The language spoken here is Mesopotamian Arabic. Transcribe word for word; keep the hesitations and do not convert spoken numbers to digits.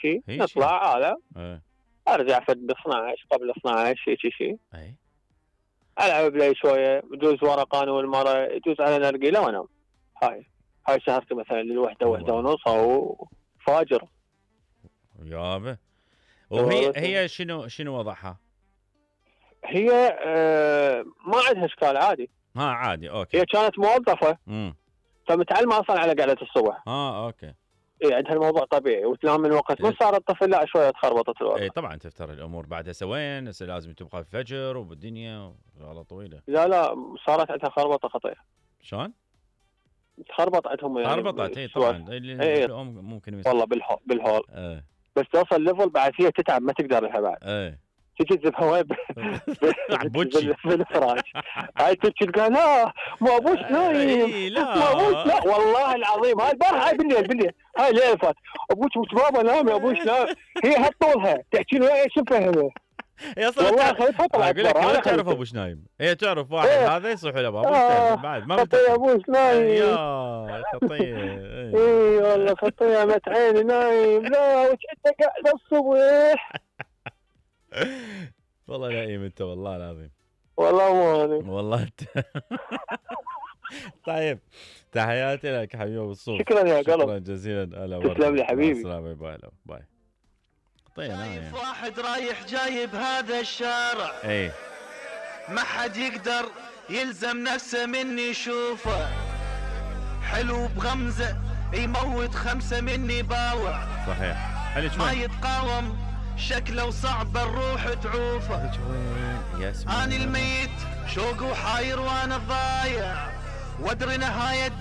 شيء نطلع هذا ايه ارجع فد ب اثنعش قبل اثنعش شيء شيء اي العب لي شويه يجوز ورا انا والمره يجوز على نرجيله وانام. هاي هاي سهرتي مثلا للوحده وحده ونص او فاجر يابا. وهي هي شنو شنو وضعها؟ هي آه ما عندها اشكال عادي. ها عادي اوكي. هي كانت موظفه امم فمتعلمه اصلا على قعده الصبح. اه اوكي. اي عندها الموضوع طبيعي وتنام من وقت ما صار الطفل لا شويه تخربطت الوضع. اي طبعا تفتر الامور بعد هسه وين هسه لازم تبقى الفجر وبالدنيا وشغله طويله. لا لا صارت عندها خربطه خطيره. شلون؟ تخربط عندهم يعني خربطت اي طبعا اي الام ممكن والله بالهول بالهول ايه. بس توصل ليفل بعد هي تتعب ما تقدر لها بعد. ايه تجي تذبحها وين عبوتشي بالفراش. هاي تبكي تقول لا ما ابوش نايم لا ما ابوش لا والله العظيم هاي البارحه هاي بالليل بالليل هاي ليله فات ابوش مش بابا نام يا ابوش نام. هي هالطولها تحكي له ايش مفهمه هي صارت والله خليتها طلعت اقول لك ما تعرف ابوش نايم. هي تعرف واحد إيه. هذا يصيح له بابوش آه. بعد ما خطيه ابوش نايم يا خطيه. اي والله خطيه مت عيني نايم لا وش انت قاعد الصبح. والله نايم انت والله العظيم. والله مو انا والله انت. طيب تحياتي لك حبيبي ابو الصوف. شكرا يا قلب. شكرا جزيلا. هلا تسلم لي حبيبي. السلام باي باي. طيب شايف واحد رايح جاي بهذا الشارع اي ما حد يقدر يلزم نفسه مني يشوفه حلو بغمزه يموت خمسه مني باوع. صحيح. عليك ما وين؟ يتقاوم شكله وصعب الروح تعوفه. عليك وين يا سمو؟ اني الميت شوق وحاير وانا ضايع وادري نهايه